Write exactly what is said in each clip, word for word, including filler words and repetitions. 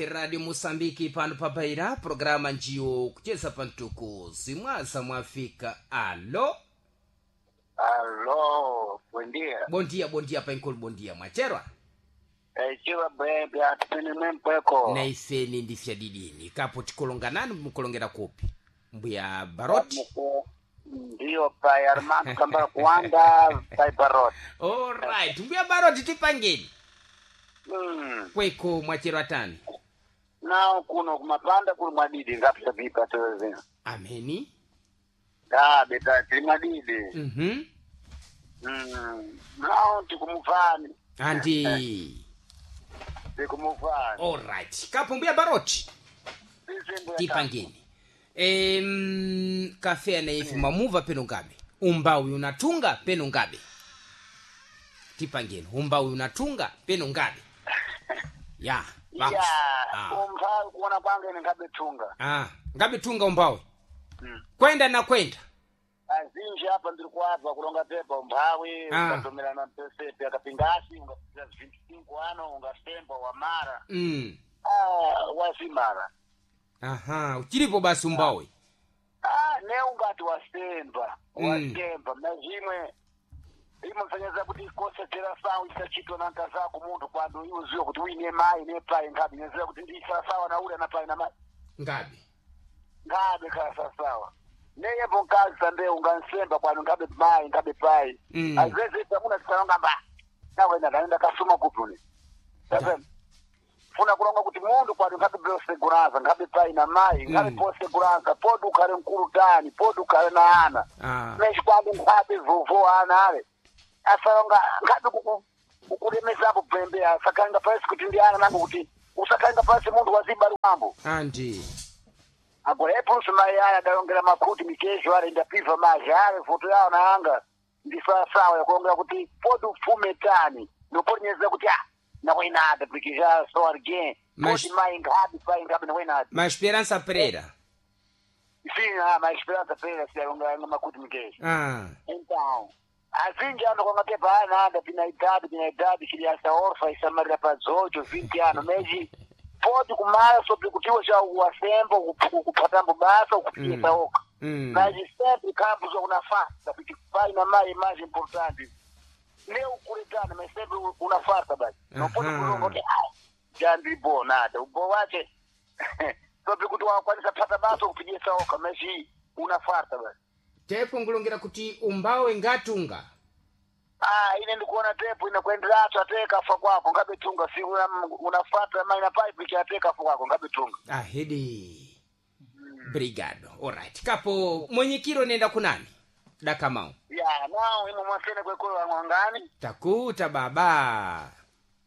Radio Mosambiki pano pabaira programa njiyo kucheza pantuku zimwaza mwafika. Alo, Alô, bom dia. bom dia, bom dia pankulu, bom dia mwacherwa. Echiwa bwembe atipene mempweko. Na ifeni ndifya didini kapo tikolonganani mukolongera kupi mbuya Baroti? Ndiyo pai Armando Kambala kuwanda pai Baroti. Alright, mbuya Baroti tipangeni Mm. kweko mwacherwa tani. Nao kuno kumapanda kuli mwadidi ngapita vipa toze. Ameni. Da beta tili mwadidi. Mhm. Mm. Nao tikumuvani. Andi. Tikumuvani. Alright, kapo mbuya Baroti Sisi tipangeni. Em, kafe na ife mamuva peno ngabe umbawi unatunga peno ngabe tipangeni umbawi unatunga peno ngabe ya vamos. Ya, ah. umphawi kuona kwange ine ngabe tunga. ah. ngabe tunga umbawi Mm. kwenda na kwenda Azinji apa ndiri kuabva kulonga pepa umphawi Ah. ukatomerana pesepe akapingasi ungapira vinte cinco ano ungasemba wamara mm. ah, wazimara aha uchilipo basi umbawi ah, ne ungati wasemba Mm. wasemba na zvimwe imosanyasa kuti kosedzera sawu isachitwa na nkazako munthu kwando iwe uziwe kuti uine mai nepai ngabe nyeziva kuti ndisasawa na ule na pai na mai ngabe ngabe khasasawa neyembo nkazi sambe ungansemba kwanu ngabe mai ngabe pai Mm. azeze tamuna tisalonga mba nawena ndaenda kasuma kupuni Da. funa kulonga kuti mundu kwanu ngabe poseguranza ngabe pai na mai ngabe Mm. poseguranza podi ukhale mkulu tani podi ukhale na ana ah. meshi kwanu ngabe vovo ana ale asalonga ngabe kuku kukulemezapo pembe asakhalenga pasi kuti ndi ana nango kuti usakhalenga pasi mundu wazibalu mambo andi agora epuluso mai aya adalongera makhuti mikezo ale ndapiva maji ale foto yawo naanga ndisawasawa yakulongera kuti podi upfume tani noponyeza kuti ah nawenada porque já sou alguém Mas- podi mai ngabe pai ngabe nawenada ma Esperança Pereira sim ah mas Esperança Pereira se alongera makuti mikezo ah. então azinji ano kwanga tepa anada pina idade pina idade criança órfã isamarira pa dezoito vinte anos meji pode kumala sobre kutiwa já uwasemba ukuphatambo basa ukupiyesa Mm. oka mm. mas sempre campos una farsa porque pai na mãe é mais importante nem o curitano mas sempre una farsa basi não pode Aham. kulonga kuti ah já ndi bo nada ubo wache sobre kuti wakwanisa phata basa ukupiyesa oka mas una farsa basi tepo ngulongera kuti umbawe ngatunga Ah, ine ndikuona tepu inakuendelatso ate kafa kwako ngabe tunga si una- unafata maina pipe ikiate kafa kwako ngabe tunga ahedi brigado alright kapo mwenyekiro nenda kunani dakamau ya nao imwe mwasene kwekolo wang'wangani takuta baba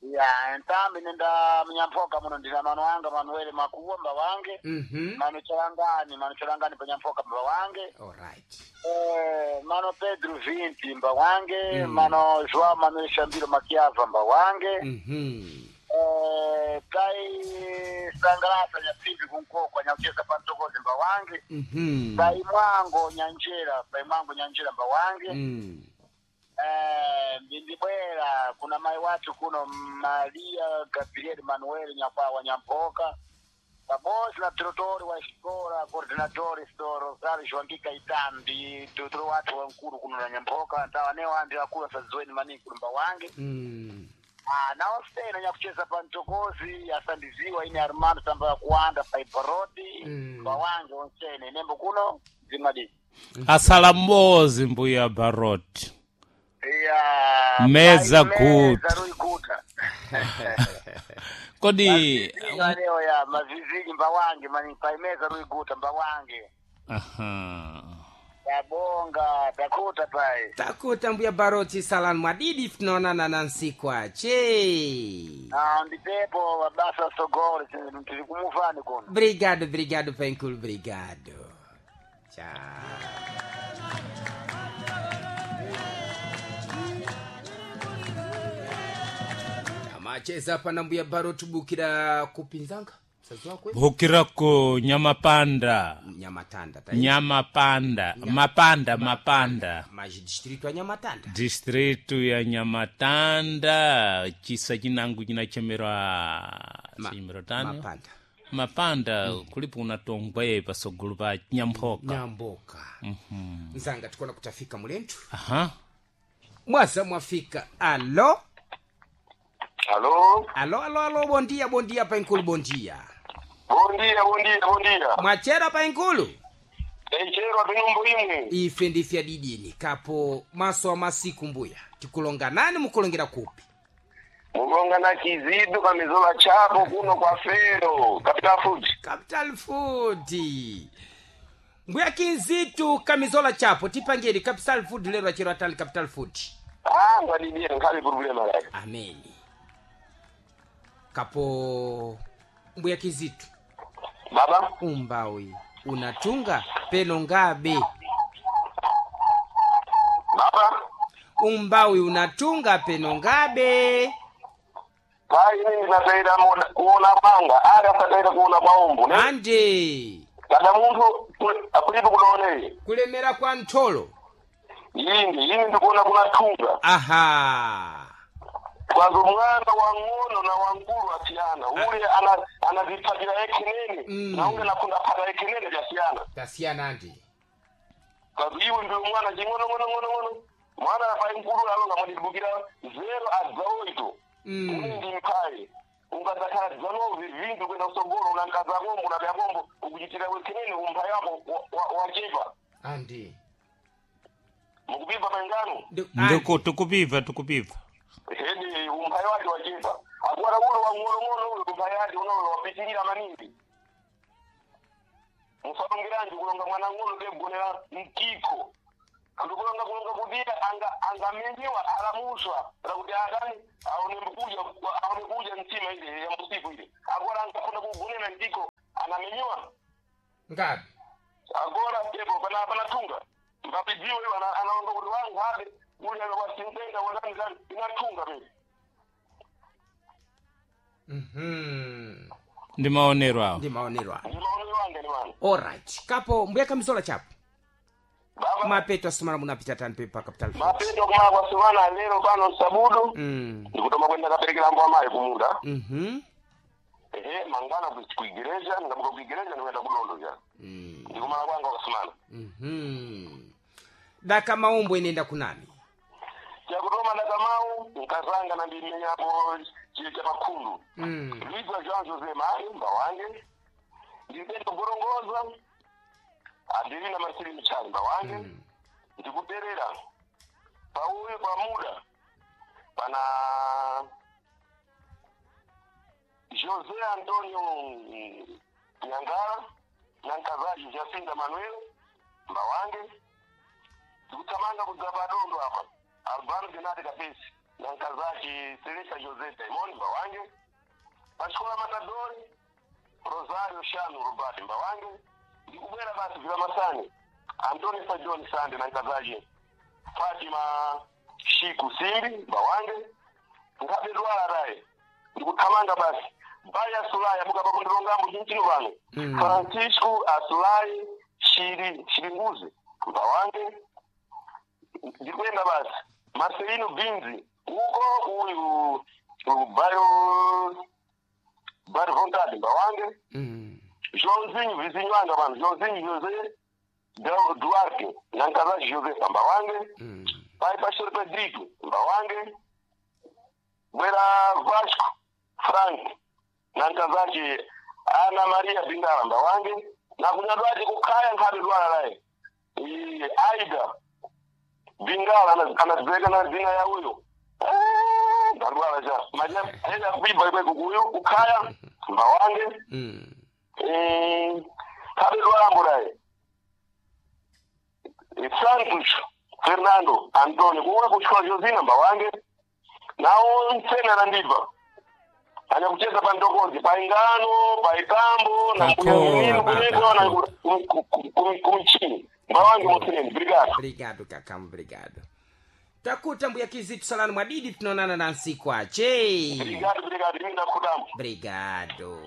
ya ntambi nenda mnyampoka muno ndina mano anga manuele makuwa mba wange mhm mano chalangani mano chalangani panyampoka mba wange alright eh, mano pedro vinti mba wange Mm. mano joao manuel shambiro makiava mba wange mhm eh, tai sangalasa nyapimbi kunkokwa nyakucheza pantokozi mba wange mhm paimwango nyanjera paimwango nyanjera mba wange mm. eh, ndindibwera kuna mai wathu kuno maria gabriel manuel nyakwawa nyampoka pabodzi na diretori wa xikola coordinatori so rosario joanqui caetano ndi diretori wathu wamkulu kuno na nyampoka ntawanewo andi akulu asadziweni maningi kulumba wange mm. Ah, nawo sena nyakucheza pa mtokozi asandiziwa ine armando tamba ya kuwanda paiparodi Mm. mba wange onsene nembo kuno zimadii asala mbozi mbuya Baroti. Ya, Meza pai guta. meza ruiguta. Kodi Leo ya mazizini mbawange mani pai meza ruiguta mbawange. aha. Tabonga takuta pai. takuta mbuya Baroti salani mwadidi tunaonana na nsiku ache Ah ndipepo wabasa sogole tili kumufani kuno. brigado brigado penkul brigado chao amacheza pana mbuya Baroti bukira kupinzanga msazi wako Bukirako nyamapanda. nyamatanda ta Nyamapanda, mapanda mapanda. maji distrito ya nyamatanda Distrito ya Nyamatanda, chisa chinangu chinachemerwa Ma- chinyimiro tani Mapanda. Mapanda kulipo unatongwe pasogolo pa Nyamphoka. Nyamboka nzanga tikuona kutafika mulentu. Aha. Mwaza mwafika, alo? Alo. Alo, alo, alo, bondia, bondia painkulu, bondia. Bondia, bondia, bondia. Mwachera painkulu? Eicherwa pinyumbu imwe. Ife ndifya didini kapo maso amasiku mbuya tikulonga nani, mukulongera kupi? Mukonga na Kizidu kamizola chapo kuno kwa Fero, Capital Food. Capital Food, mbuya Kinzitu kamizola chapo, tipangeni Capital Food lero achero atali Capital Food. Ah, ngadidia nkhali problema lake. Ameni kapo mbuya Kizitu. Baba, Umbawi unatunga peno ngabe? Baba, Umbawi unatunga peno ngabe? pai mimi ndinataira kuona kwanga, ari asataira kuona kwa umbu, ne? Ande. Kada munthu akulipo kunaoneye. Kulemera kwa ntholo. Yindi, yindi ndikuona kuna tunga. Aha. Kwanza mwana wang'ono na wangulu asiyana. Ule ana anazipatira ekinene Mm. na unge nakunda pata ekinene vyasiyana. Tasiyana andi. Kazi iwe ndiwe mwana ching'ono ng'ono ng'ono ng'ono mwana apai mkulu alonga mwandibukira zero adzaoito. Mm. Uli ndi mphayi ungadzakhala dzanovi vindu kwenda kusogolo unankaza kombo unapya kombo ukuchitira wekenene umphayi wako wa- wa- wachepa. Andi. Mukupimba maingano. Ndi- Ndiku tikupibva tikupibva. Hedi umphayi wake wachepa akuwala ulo wang'onong'ono ulo umphayi wake unolo wapitirira maningi musalongeranji kulonga mwana ng'ono degonera mkiko ndikulonga kulonga kuti anga angamenyewa alamuswa lakuti akani aone mkuja aone kuja mtima ile ya musiku ile agora angafuna kugonera mkiko anamenyewa. Ngabe. Agora pepo pana panatunga mbapidziwe iwo ana- anaonga kuti wangu habe uli wasimtenga wanani zani inatunga pepo. Mhm. Ndi maonero awo. Ndi maonero awo. Ndi maonero anga ni wanu. Alright kapo mbuya kamizola chapo. Baba. Mapeto asumala munapita tani pepa Capital Food. Mapeto kumala kwa sumana lero pano sabudu Mm. ndikutoma kwenda kaperekera mbo amayi kumunda. Mhm. Ehe, mangwana ku ku igereja ndikabuka ku igereja ndikuenda kudondo ja. Mm. Ndikumala kwanga kwasumana. Mhm. Daka maombo inenda kunani? Chakutoma dakamau nkazanga na ndimenyapo chili cha pakhundu. Mm. Luiza Jean Jose Mayo mbawange ndipenda kugorongoza andili na masiri mchali mbawange. Mm. Ndikuperera pauyu pamuda pana José Antonio mm, Nyangara na nkazaji Jacinta Manuel mbawange ndikuthamanga kudzapa adondo apa Albano Benate Kapesi na nkazaji Selesa José Daimon mbawange pachikola Matadori Rosario Shanu Robert mbawange ndikubwera basi vila masani Antoni Sajon Sande na nkazaji Fatima Shiku Simbi mbawange nkhabe dwala raye ndikuthamanga basi Baya Sulaya mukapa kundilongambo chinchino pano. Mm. Francisco Asulai Shiri Shiringuzi mbawange ndikuyenda basi Marcelino Binzi uko uyu uyu Bayo Bari Vontade mbawange. Mm. Joãozinho, vizinho anga pano, Joãozinho José Du- Duarte, na nkazaji José mbawange. Mm. Pai Pastor Pedrito mbawange bwera Vasco Frank na nkazaji Ana Maria Bingala mbawange na kunyadwaji kukhaya nkhabe dwala laye Iye, Aida Bingala ana- anadzeka na dzina ya uyo. Eh, ndadwala cha maja enda kuiba ikwe kukuyo kukhaya mbawange. Mm. Eh, khabe dwala mbulaye Santos Fernando Antonio kuwe kuchikola Josina mbawange nawo ntsena nandiva anyakucheza pa ndokozi pa ingano pa itambo na Kakora, mbuya baba. kuneko na kumchini mbawange mutsineni brigado. Obrigado kakamu, obrigado. Takuta mbuya Kizitu salani mwadidi tunaonana na nsiku ache. Brigado, brigado, imi ndakudambo. Obrigado.